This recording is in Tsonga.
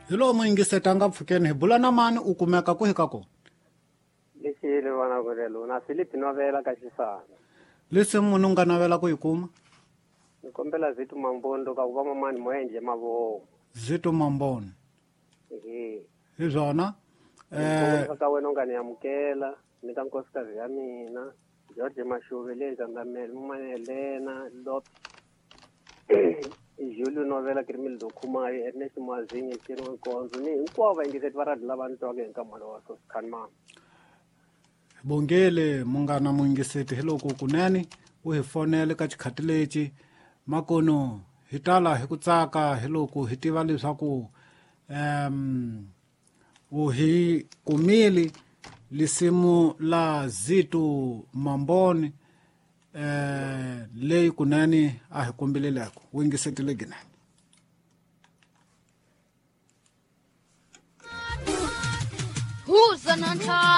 Hi lowu muyingiseti a nga pfukeni hi bula na mani u kumeka ku hi ka kona. Lexile vana ku lelo na Philip Novela ka Xisana. Lesi munhu u nga navela ku yi kuma? Ni kombela Zitu Mambondo ka ku va mamani mo endle mavomo. Zitu Mambondo. Ehe. Hi swona. Ka wena u nga ni amukela ni ka nkosikazi ya mina George Mashuve le Ndzandamele Mumane Helena Lop Julio Novela Kirimildo Khumayo Ernest Mwazinye Ciro Nkonzo ni hinkwavo vayingiseti va radio lava ni twaka hi nkamhalo wa Soscan mama. Bongele munghana muyingiseti hi loko kunene u hi fonele ka xikhati lexi makono hi tala hi ku tsaka hi loko hi tiva leswaku u hi kumile lisimu la Zitu Mamboni leyi kunene a hi kombeleleko wu yingisetile ginene. Huza na.